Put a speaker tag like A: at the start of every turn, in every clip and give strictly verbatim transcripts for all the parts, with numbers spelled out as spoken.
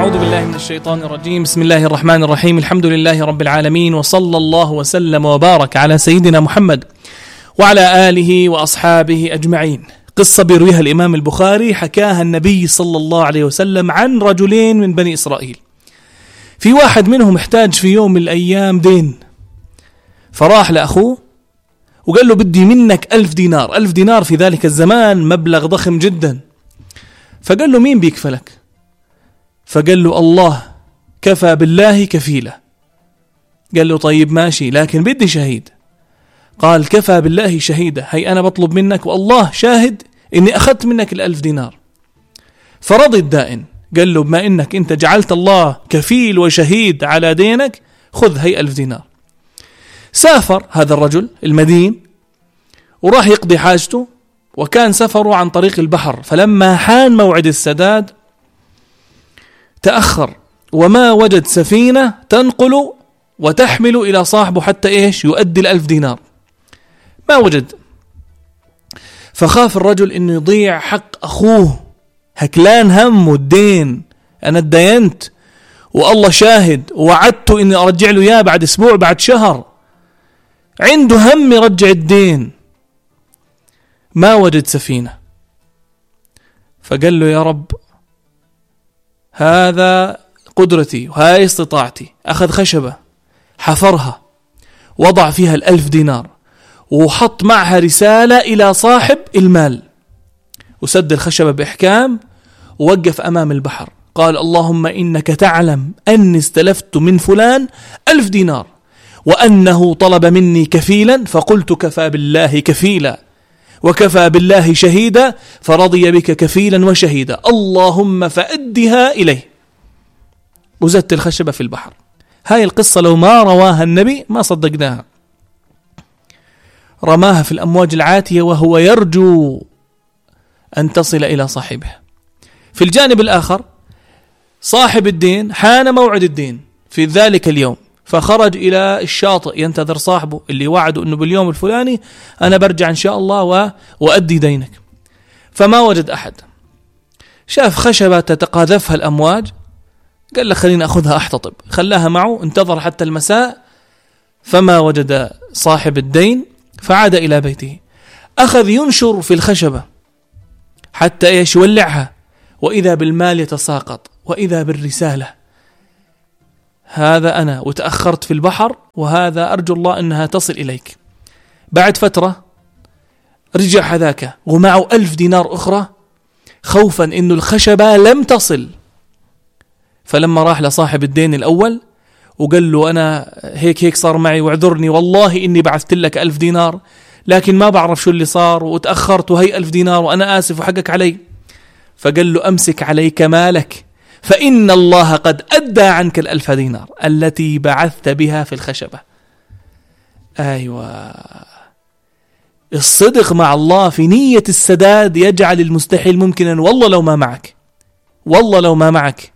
A: أعوذ بالله من الشيطان الرجيم. بسم الله الرحمن الرحيم. الحمد لله رب العالمين، وصلى الله وسلم وبارك على سيدنا محمد وعلى آله وأصحابه أجمعين. قصة بيرويها الإمام البخاري حكاها النبي صلى الله عليه وسلم عن رجلين من بني إسرائيل. في واحد منهم احتاج في يوم من الأيام دين، فراح لأخوه وقال له بدي منك ألف دينار. ألف دينار في ذلك الزمان مبلغ ضخم جدا. فقال له مين بيكفلك؟ فقال له الله، كفى بالله كفيلة. قال له طيب ماشي، لكن بدي شهيد. قال كفى بالله شهيدة، هي أنا بطلب منك والله شاهد إني أخذت منك الألف دينار. فرضي الدائن، قال له بما إنك أنت جعلت الله كفيل وشهيد على دينك، خذ هي ألف دينار. سافر هذا الرجل المدين وراح يقضي حاجته، وكان سفره عن طريق البحر. فلما حان موعد السداد تأخر وما وجد سفينة تنقل وتحمل إلى صاحبه حتى إيش يؤدي الألف دينار، ما وجد. فخاف الرجل إنه يضيع حق أخوه، هكلان هم والدين، أنا اتدينت والله شاهد ووعدته إني أرجع له إياه بعد أسبوع بعد شهر، عنده هم يرجع الدين، ما وجد سفينة. فقال له يا رب هذا قدرتي وهاي استطاعتي. أخذ خشبة حفرها، وضع فيها الألف دينار، وحط معها رسالة إلى صاحب المال، وسد الخشبة بإحكام، ووقف أمام البحر. قال اللهم إنك تعلم أني استلفت من فلان ألف دينار، وأنه طلب مني كفيلا، فقلت كفى بالله كفيلا وكفى بالله شهيدا، فرضي بك كفيلا وشهيدا، اللهم فأدها إليه. وزدت الخشبة في البحر. هاي القصة لو ما رواها النبي ما صدقناها. رماها في الأمواج العاتية وهو يرجو أن تصل إلى صاحبه. في الجانب الآخر صاحب الدين حان موعد الدين في ذلك اليوم، فخرج إلى الشاطئ ينتظر صاحبه اللي وعده أنه باليوم الفلاني أنا برجع إن شاء الله و... وأدي دينك. فما وجد أحد. شاف خشبة تتقاذفها الأمواج، قال له خليني أخذها أحتطب. خلاها معه، انتظر حتى المساء فما وجد صاحب الدين، فعاد إلى بيته. أخذ ينشر في الخشبة حتى إيش يولعها، وإذا بالمال يتساقط، وإذا بالرسالة هذا أنا وتأخرت في البحر، وهذا أرجو الله أنها تصل إليك. بعد فترة رجع هذاك ومعه ألف دينار أخرى، خوفا إنه الخشبة لم تصل. فلما راح لصاحب الدين الأول وقال له أنا هيك هيك صار معي، واعذرني والله إني بعثت لك ألف دينار، لكن ما بعرف شو اللي صار وتأخرت، وهي ألف دينار وأنا آسف وحقك علي. فقال له أمسك عليك مالك، فإن الله قد أدى عنك الألف دينار التي بعثت بها في الخشبة. أيوة، الصدق مع الله في نية السداد يجعل المستحيل ممكنا. والله لو ما معك، والله لو ما معك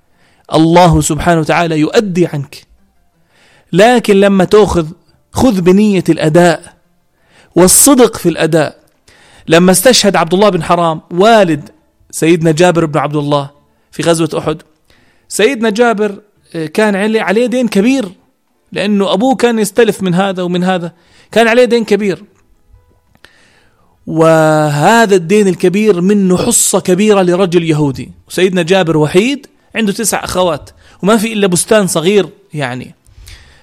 A: الله سبحانه وتعالى يؤدي عنك. لكن لما تأخذ خذ بنية الأداء والصدق في الأداء. لما استشهد عبد الله بن حرام والد سيدنا جابر بن عبد الله في غزوة أحد، سيدنا جابر كان عليه دين كبير، لأنه أبوه كان يستلف من هذا ومن هذا، كان عليه دين كبير، وهذا الدين الكبير منه حصة كبيرة لرجل يهودي. وسيدنا جابر وحيد، عنده تسع أخوات وما في إلا بستان صغير يعني.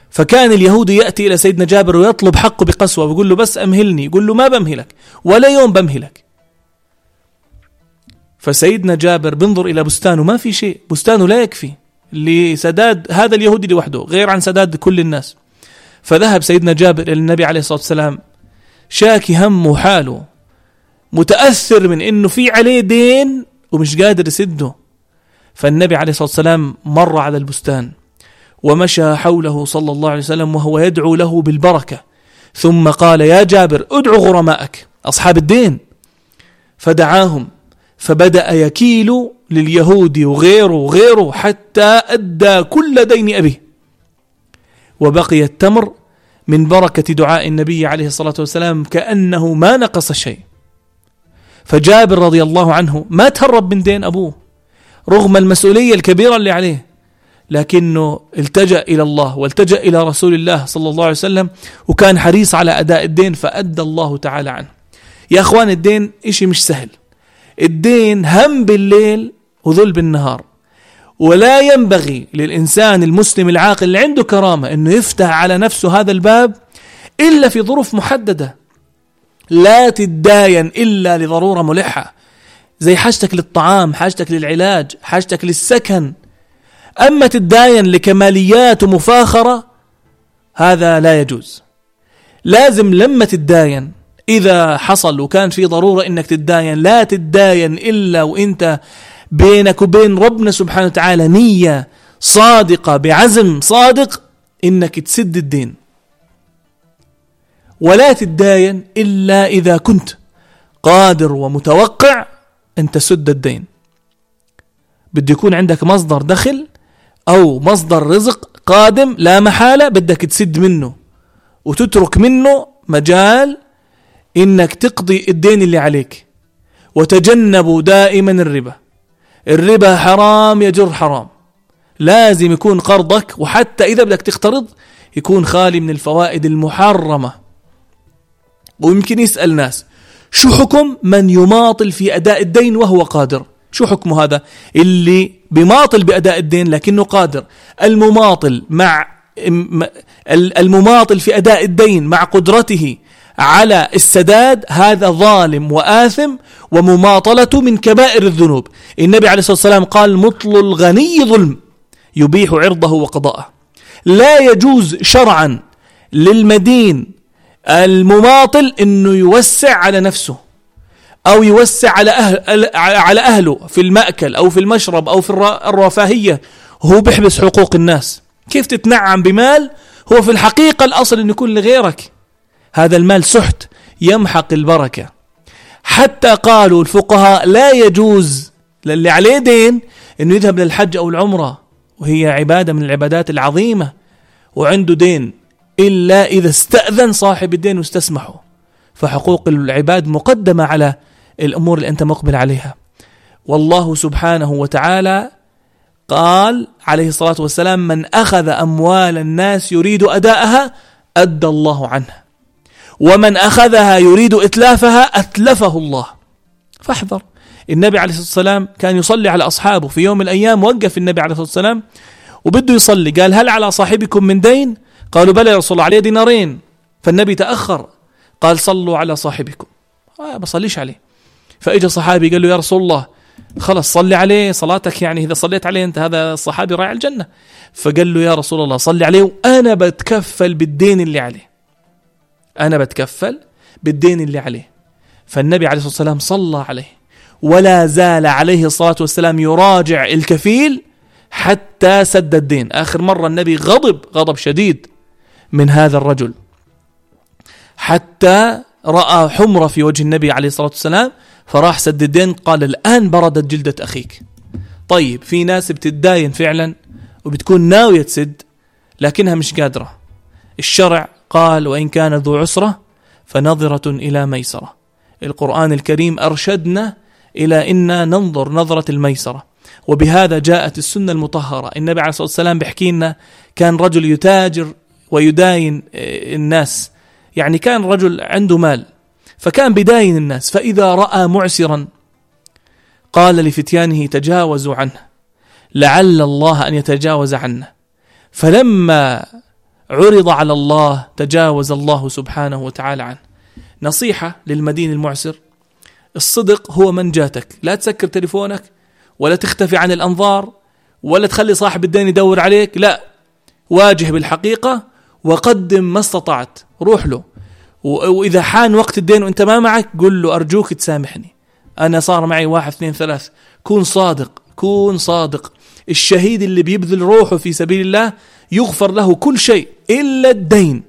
A: فكان اليهودي يأتي إلى سيدنا جابر ويطلب حقه بقسوة، ويقول له بس أمهلني، يقول له ما بمهلك ولا يوم بمهلك. فسيدنا جابر بنظر إلى بستانه ما في شيء، بستانه لا يكفي لسداد هذا اليهودي لوحده غير عن سداد كل الناس. فذهب سيدنا جابر إلى النبي عليه الصلاة والسلام شاكي همه وحاله، متأثر من إنه في عليه دين ومش قادر يسده. فالنبي عليه الصلاة والسلام مر على البستان ومشى حوله صلى الله عليه وسلم وهو يدعو له بالبركة، ثم قال يا جابر ادعو غرمائك أصحاب الدين. فدعاهم، فبدأ يكيل لليهود وغيره وغيره حتى أدى كل دين أبيه، وبقي التمر من بركة دعاء النبي عليه الصلاة والسلام كأنه ما نقص شيء. فجابر رضي الله عنه ما تهرب من دين أبوه رغم المسؤولية الكبيرة اللي عليه، لكنه التجأ إلى الله والتجأ إلى رسول الله صلى الله عليه وسلم، وكان حريص على أداء الدين فأدى الله تعالى عنه. يا أخوان الدين إشي مش سهل، الدين هم بالليل وذل بالنهار، ولا ينبغي للإنسان المسلم العاقل اللي عنده كرامة أنه يفتح على نفسه هذا الباب إلا في ظروف محددة. لا تتداين إلا لضرورة ملحة، زي حاجتك للطعام، حاجتك للعلاج، حاجتك للسكن. أما تتداين لكماليات ومفاخرة هذا لا يجوز. لازم لما تتداين إذا حصل وكان في ضرورة إنك تتداين، لا تتداين إلا وإنت بينك وبين ربنا سبحانه وتعالى نية صادقة بعزم صادق إنك تسد الدين. ولا تتداين إلا إذا كنت قادر ومتوقع أن تسد الدين. بده يكون عندك مصدر دخل أو مصدر رزق قادم لا محالة، بدك تسد منه وتترك منه مجال إنك تقضي الدين اللي عليك. وتجنبوا دائما الربا، الربا حرام يجر حرام. لازم يكون قرضك، وحتى إذا بدك تقترض يكون خالي من الفوائد المحرمة. ويمكن يسأل ناس شو حكم من يماطل في أداء الدين وهو قادر؟ شو حكمه هذا اللي بيماطل بأداء الدين لكنه قادر؟ المماطل مع المماطل في أداء الدين مع قدرته على السداد هذا ظالم وآثم، ومماطلته من كبائر الذنوب. النبي عليه الصلاة والسلام قال مطل الغني ظلم يبيح عرضه وقضاءه. لا يجوز شرعا للمدين المماطل انه يوسع على نفسه او يوسع على أهل على اهله في المأكل او في المشرب او في الرفاهية، هو بيحبس حقوق الناس. كيف تتنعم بمال هو في الحقيقة الاصل انه يكون لغيرك؟ هذا المال سحت يمحق البركة. حتى قالوا الفقهاء لا يجوز للي عليه دين انه يذهب للحج او العمرة، وهي عبادة من العبادات العظيمة، وعنده دين، إلا إذا استأذن صاحب الدين واستسمحه. فحقوق العباد مقدمة على الأمور اللي أنت مقبل عليها. والله سبحانه وتعالى قال عليه الصلاة والسلام من أخذ أموال الناس يريد أداءها أدى الله عنها، ومن أخذها يريد إتلافها أتلفه الله. فاحذر. النبي عليه الصلاة والسلام كان يصلي على أصحابه في يوم من الأيام، وقف النبي عليه الصلاة والسلام وبده يصلي، قال هل على صاحبكم من دين؟ قالوا بلى يا رسول الله عليه دينارين. فالنبي تأخر قال صلوا على صاحبكم، آه بصليش عليه. فإجا صحابي قال له يا رسول الله خلص صلي عليه، صلاتك يعني إذا صليت عليه أنت هذا الصحابي رايح الجنة. فقال له يا رسول الله صلي عليه وأنا بتكفل بالدين اللي عليه، أنا بتكفل بالدين اللي عليه. فالنبي عليه الصلاة والسلام صلى عليه، ولا زال عليه الصلاة والسلام يراجع الكفيل حتى سد الدين. آخر مرة النبي غضب غضب شديد من هذا الرجل حتى رأى حمرة في وجه النبي عليه الصلاة والسلام، فراح سد الدين. قال الآن بردت جلدة أخيك. طيب في ناس بتتداين فعلا وبتكون ناوية تسد لكنها مش قادرة. الشرع قال وإن كان ذو عسرة فنظرة إلى ميسرة. القرآن الكريم أرشدنا إلى إن ننظر نظرة الميسرة، وبهذا جاءت السنة المطهرة. النبي عليه الصلاة والسلام بيحكي لنا كان رجل يتاجر ويداين الناس، يعني كان رجل عنده مال فكان بداين الناس، فإذا رأى معسرا قال لفتيانه تجاوزوا عنه لعل الله أن يتجاوز عنه. فلما عرض على الله تجاوز الله سبحانه وتعالى عنه. نصيحة للمدين المعسر، الصدق هو منجاتك. لا تسكر تليفونك ولا تختفي عن الأنظار ولا تخلي صاحب الدين يدور عليك، لا، واجه بالحقيقة وقدم ما استطعت، روح له. وإذا حان وقت الدين وانت ما معك قل له أرجوك تسامحني، أنا صار معي واحد اثنين ثلاث. كون صادق، كون صادق. الشهيد اللي بيبذل روحه في سبيل الله يغفر له كل شيء إلا الدين،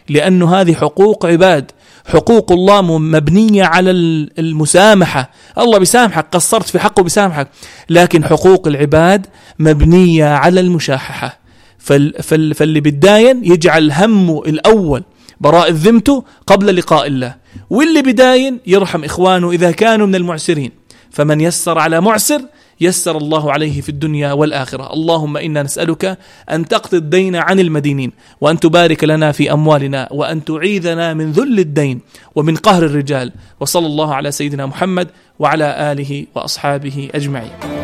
A: لأنه هذه حقوق عباد. حقوق الله مبنية على المسامحة، الله بيسامحك، قصرت في حقه بيسامحك، لكن حقوق العباد مبنية على المشاححة. فاللي بيداين يجعل همه الأول براء ذمته قبل لقاء الله، واللي بداين يرحم إخوانه إذا كانوا من المعسرين. فمن يسر على معسر يسر الله عليه في الدنيا والآخرة. اللهم إنا نسألك أن تقضي الدين عن المدينين، وأن تبارك لنا في أموالنا، وأن تعيذنا من ذل الدين ومن قهر الرجال. وصلى الله على سيدنا محمد وعلى آله وأصحابه أجمعين.